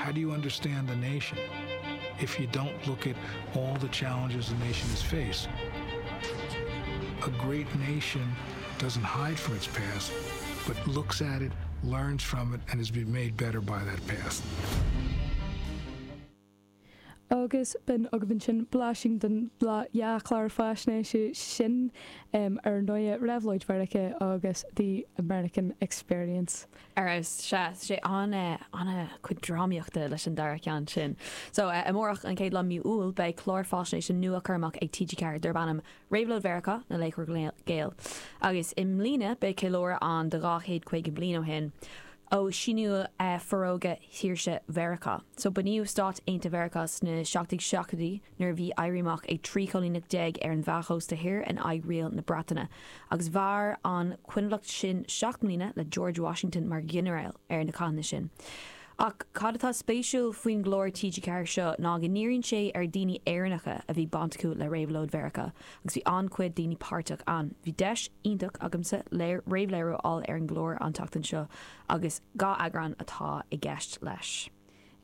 How do you understand the nation if you don't look at all the challenges the nation has faced? A great nation doesn't hide from its past, but looks at it, learns from it, and has been made better by that past. Agus b'in agaibh ansin blaisín den dhá chlár faisnéise sin, ar ndóigh, Réabhlóid Mheiriceá agus The American Experience. Ar fheabhas, sea, sé an-chuid drámaíochta leis an dara ceann sin. So, amárach, an chéad lá mí Iúil, beidh clár faisnéise nua curtha amach ag TG4 darb ainm Réabhlóid Mheiriceá, Na Laochra Gael. Agus i mbliana, beidh ceiliúradh ann do 250 bliain ó shin ó síníodh Forógra Shaoirse Mheiriceá. So, bunaíodh Stáit Aontaithe Mheiriceá sna 1770idí nuair a bhí éirí amach ag 13 choilíneacht ar an mheánchósta thoir in aghaidh riail na Breataine. Agus mhair an choinbhleacht sin 7 mbliana le George Washington mar ghinearál ar na cathanna sin. Ach cad atá spéisiúil faoin gclár TG4 seo ná go ndíríonn sé ar daoine Éireannacha a bhí baint acu le Réabhlóid Mheiriceá agus bhí an-chuid daoine páirteach ann. Bhí deis iontach agamsa réamhléiriú a fháil ar an gclár an tseachtain seo agus 2 eagrán atá i gceist leis.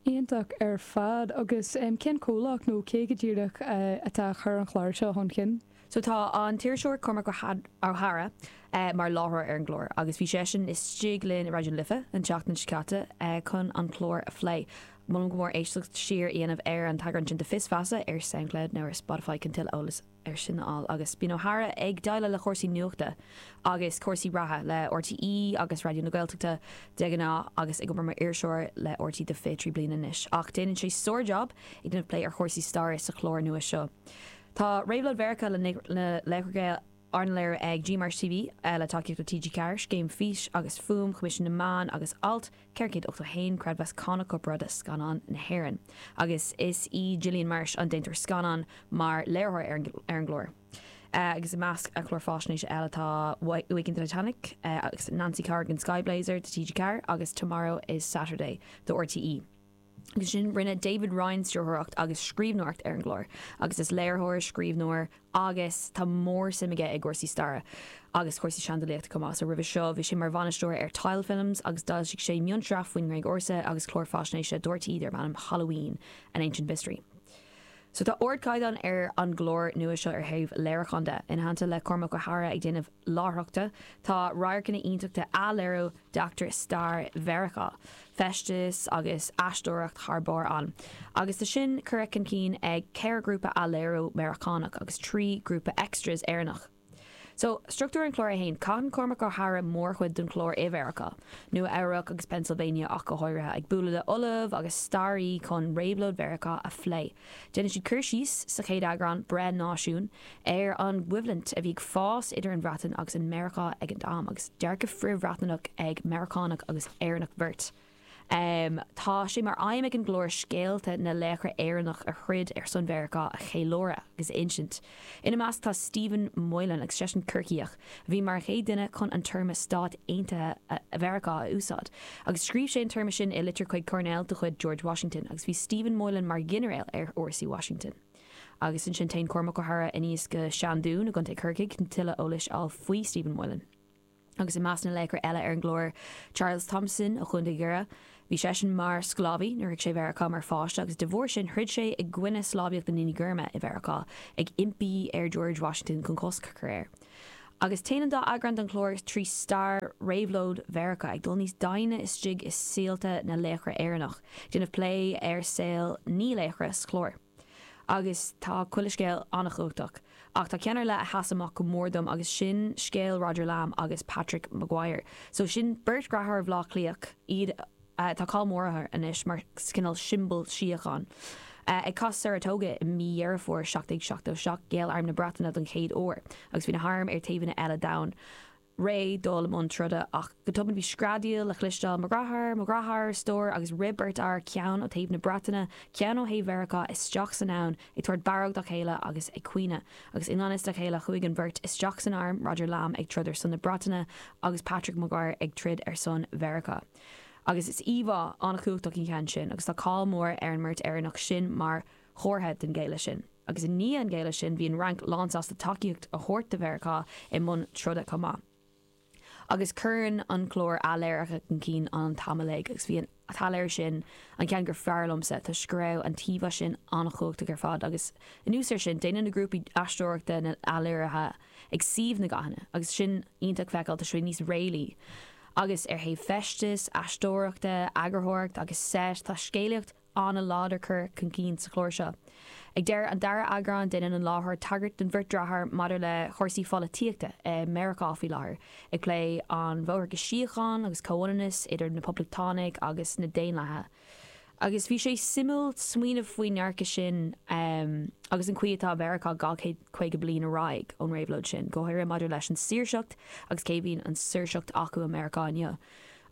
Iontach ar fad. Agus cén comhlacht nó cé go díreach atá ag cur an chláir seo chun cinn? So tá an t-iriseoir Cormac Ó hEadhra mar láithreoir ar an gclár agus bhí seisean istigh linn i Raidió na Life an tseachtain seo caite chun an clár a phlé. Molaim go mór éisteacht siar a dhéanamh ar an t-eagrán sin de Fios Feasa ar Soundcloud nó ar Spotify chun tuilleadh eolais ar sin a fháil. Agus bíonn Ó hEadhra ag déileáil le cúrsaí nuachta agus cúrsaí reatha le RTÉ agus Raidió na Gaeltachta de ghnáth agus ag obair mar iriseoir le RTÉ do 23 bliana anois. Ach déanann sé sár-jab ag déanamh plé ar chúrsaí staire sa chlár nua seo. Tá Réabhlóid Mheiriceá na Laochra Gael arna léiriú ag GMarsh TV le tacaíocht ó TG4, Scéim Fís agus Fuaim Choimisiún na Meán agus Alt 481 Creidmheas Cánach Corparáide Scannán na hÉireann. Agus is í Gillian Marsh an déantóir scannán mar léiritheoir ar an gclár. Agus i measc a chlár faisnéise eile tá Waking the Titanic agus Nancy Corrigan Skyblazer do TG4 agus Tomorrow is Saturday do RTÉ. Agus ansin rinne David Ryan stiúrthóireacht agus scríbhneoireacht ar an gclár agus is léiritheoir, scríbhneoir agus tá mór-suim aige i gcúrsaí staire agus cúrsaí seandálaíochta chomh maith. So roimhe seo bhí sé mar bhainisteoir ar Tile Films agus d'fhoilsigh sé mionsraith faoin nGréig Ársa agus clár faisnéise do RTÉ darb ainm Halloween, An Ancient Mystery. So tá ardchaighdeán ar an gclár nua seo ar thaobh léiriúcháin de. Ina theannta le Cormac Ó hEadhra ag déanamh láithreachta, tá radharcanna iontacha athléiriú d'eachtra stair Mheiriceá, feisteas agus aisteoireacht thar barr ann. Agus tá sin curtha chun cinn ag 4 ghrúpa athléiriú Meiriceánach agus 3 ghrúpa extras Éireannach. So, struchtúr an chláir é fhéin, caitheann Cormac Ó hEadhra mórchuid den chlár i Mheiriceá, Nua Eabhrac agus Pennsylvania ach go háirithe, ag bualadh le ollamh agus staraí chun réabhlóid Mheiriceá a phlé. Déanann siad cur síos sa chéad eagrán, Breith Náisiún, ar an gcoimhlint a bhí ag fás idir an Bhreatain agus an Meiriceá ag an am, agus dearcadh frith-Bhreatnach ag Meiriceánach agus Éireannach beirt. Tá sé mar aidhm ag an gclár scéalta na laochra Éireannach a throid ar son Mheiriceá a cheiliúradh agus a insint. Ina measc tá Stephen Moylan, agus seisean Corcaíoch, a bhí mar an chéad duine chun an téarma Stáit Aontaithe Mheiriceá a úsáid. Agus scríobh sé an téarma sin i litir chuig coirnéal de chuid George Washington, agus bhí Stephen Moylan mar ghinearéal ar fhórsaí Washington. Agus ansin téann Cormac Ó hEadhra aníos go Seandún i gContae Chorcaigh chun tuilleadh eolais a fháil faoi Stephen Moylan. Agus i measc na laochra eile ar an gclár, Charles Thompson ó Chontae Dhoire. Bhí seisean mar sclábhaí nuair a shroich sé Mheiriceá mar pháiste agus de bharr sin throid sé i gcoinne sclábhaíocht na ndaoine gorma i Mheiriceá, ag impí ar George Washington chun cosc a chur air. Agus téann an dá eagrán den chlár trí stair réabhlóid Mheiriceá, ag dul níos doimhne istigh i saolta na laochra Éireannach, ag déanamh plé ar saol na laochra sa chlár. Agus tá chuile scéal an-chumhachtach. Ach tá ceann ar leith a sheas amach go mór dom agus sin scéal Roger Lamb agus Patrick Maguire. So sin beirt dheartháir Bhaile Átha Cliath, iad, tá cáil mhór orthu anois mar cineál siombail síocháin. Ag Cath Saratoga i mí Dheireadh Fómhair 1777 ghéill arm na Breataine don chéad uair agus bhí na hairm ar taobhanna eile domhain. réidh dul i mbun troda ach go tobann bhí screadaíl le cloisteáil, 'Mo dheartháir! Mo dheartháir! A stór! agus rith beirt fhear, ceann ó thaobh na Breataine, ceann ó thaobh Mheiriceá, isteach san abhainn, ag tabhairt barróg dá chéile agus ag caoineadh. Agus i ngan fhios dá chéile chuaigh an bheirt isteach san arm, Roger Lamb ag troid ar son na Breataine agus Patrick Maguire ag troid ar son Mheiriceá. Agus is íomhá an-chumhachtach an ceann sin agus tá cáil mhór ar an mbeirt Éireannach sin mar chomhartha den ghéilleadh sin. Agus i ndiaidh an ghéilleadh sin, bhí an Fhrainc lánsásta tacaíocht a thabhairt do Mheiriceá i mbun troda chomh maith. Agus cuireann an clár athléirithe chun cinn an t-am uilig agus bhí an t-athléiriú sin an ceann gur fearr liomsa toisc go raibh an t-íomhá sin an-chumhachtach ar fad agus anuas air sin déanann na grúpaí aisteoireachta na athléirithe ag suíomh na gcathanna agus sin iontach feiceáil tá sé níos réalaí agus ar thaobh feistis, aisteoireachta, eagarthóireacht agus seit tá scéalaíocht an-láidir curtha chun cinn sa chlár seo. Ag deireadh an dara eagrán, déanann an láithreoir tagairt don bheirt deartháir maidir le chúrsaí pholaitíochta i Meiriceá faoi láthair, ag plé an bhóthar go síocháin agus comhionannas idir na Poblachtánaigh agus na Daonlathaithe. Agus bhí sé suimiúil smaoineamh faoin ndearcadh sin agus an chaoi atá Meiriceá 250 bliain ar aghaidh ón réabhlóid sin, go háirithe maidir leis an saoirseacht agus cé a bhíonn an saoirseacht acu i Meiriceá inniu.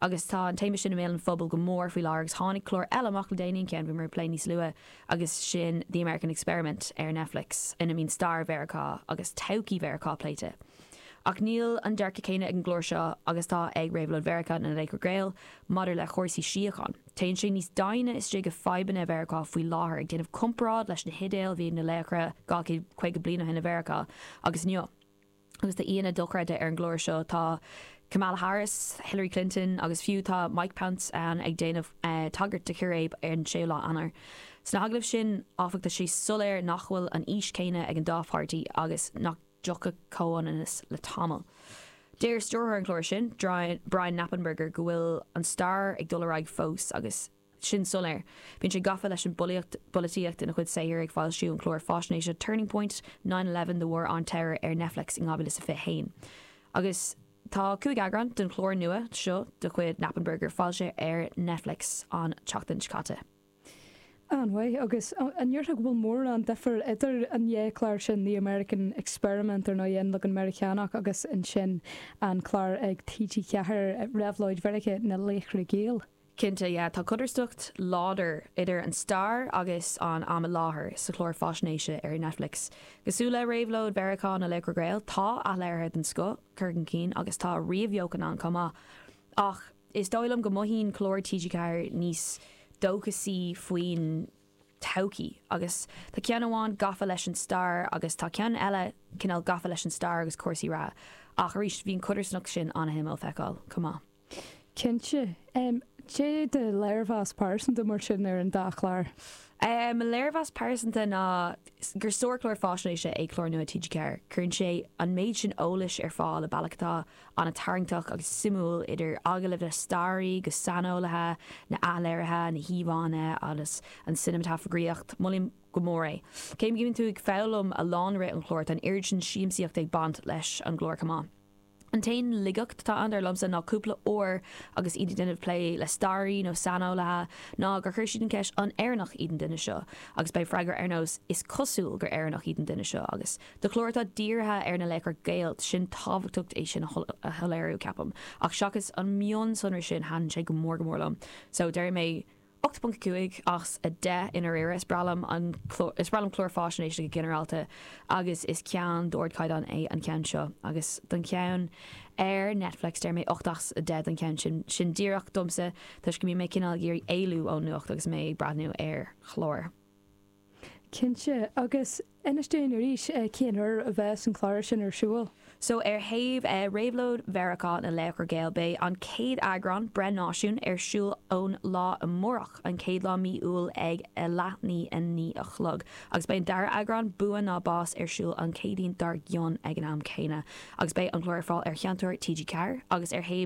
Agus tá an téama sin i mbéal an phobail go mór faoi láthair agus tháinig clár eile amach le déanaí, an ceann a bhíomar ag plé níos luaithe, agus sin The American Experiment ar Netflix, ina mbíonn stair Mheiriceá agus todhchaí Mheiriceá pléite. Ach níl an dearcadh céanna ag an gclár seo agus atá ag Réabhlóid Mheiriceá na Laochra Gael maidir le chúrsaí síocháin. Téann sé níos doimhne istigh i fadhbanna Mheiriceá faoi láthair, ag déanamh comparáid leis na hidéil a bhí ag na laochra 250 bliain ó shin i Mheiriceá agus inniu. Agus tá aíonna dochreidte ar an gclár seo. Tá Kamala Harris, Hillary Clinton agus fiú tá Mike Pence ann ag déanamh tagairt do chíréib ar an séú lá Eanáir. Sna hagallaimh sin, áfach, tá sé soiléir nach bhfuil an fhís chéanna ag an dá pháirtí agus nach dtiocfaidh comhionannas le tamall. Deir stiúrthóir an chláir sin, Brian Knappenberger, go bhfuil an stair ag dul ar aghaidh fós agus, sin soiléir. Bíonn sé gafa leis an bpolaitíocht ina chuid saothair, ag foilsiú an chláir faisnéise Turning Point, 9/11, The War on Terror ar Netflix in 2021. Agus tá 5 eagrán den chlár nua seo de chuid Knappenberger foilsithe ar Netflix an tseachtain seo caite. An-mhaith. Agus an ndéarfá go bhfuil mórán difir idir an dhá chlár sin, The American Experiment, ar ndóigh, an leagan Meiriceánach, agus ansin an clár ag TG4, Réabhlóid Mheiriceá, Na Laochra Gael? Cinnte, yeah. Tá codarsnacht láidir idir an stair agus an am i láthair sa chlár faisnéise ar Netflix. Cosúil le Réabhlóid Mheiriceá na Laochra Gael, tá athléirithe den scoth curtha chun cinn agus tá ríomhbheochan ann chomh maith. Ach is dóigh liom go mothaíonn clár TG4 níos dóchasaí faoin todhchaí. Agus tá ceann amháin gafa leis an stair agus tá ceann eile cineál gafa leis an stair agus cúrsaí reatha. Ach arís, bhí an chodarsnacht sin an-shuimiúil feiceáil chomh maith. Cinnte. Cé do léirmheas pearsanta mar sin ar an dá chlár? Mo léirmheas pearsanta ná gur sárchlár faisnéise é clár nua TG4. Cuireann sé an méid sin eolais ar fáil i bealach atá an-tarraingteach agus suimiúil, idir agallaimh le staraí go saineolaithe, na athléirithe, na híomhánna agus an cineamatagrafaíocht. Molaim go mór é. Cé go mbíonn tú ag foghlaim a lán i rith an chláir, tá an oiread sin siamsaíochta ag baint leis an gclár chomh maith. An t-aon laigeacht atá ann dar liomsa ná cúpla uair agus iad ag déanamh plé le staraí nó saineolaithe ná gur chuir siad an cheist 'an Éireannach iad an duine seo? agus beidh freagra ar nós 'is cosúil gur Éireannach iad an duine seo' agus do chlár atá dírithe ar na laochra Gael sin tábhachtach é sin a shoiléiriú ceapaim ach seachas an mionsonra sin thaitin sé go mór go mór liom so déarfaidh mé 8.5 as 10 i ndáiríre. Is breá liom an is breá liom cláir faisnéise go ginearálta agus is ceann d'ardchaighdeán é an ceann seo. Agus don cheann ar Netflix deir mé 8 as 10 don cheann sin. Sin díreach domsa toisc go mbíonn mé cineál ag iarraidh éalú ón nuacht agus mé ag breathnú ar chlár. Cinnte. Agus inis dúinn arís cén uair a bheas an clár sin ar siúl? So ar thaobh Réabhlóid Mheiriceá na Laochra Gael, beidh an chéad eagrán, Breith Náisiún, ar siúl ón lá amárach, an chéad lá mí Iúil ag a leath i ndiaidh a 9 a chlog. Agus beidh an dara eagrán, Bua ná Bás, ar siúl an Chéadaoin dár gcionn ag an am céanna. Agus beidh an clár ar fáil ar sheinnteoir TG4 agus ar thaobh.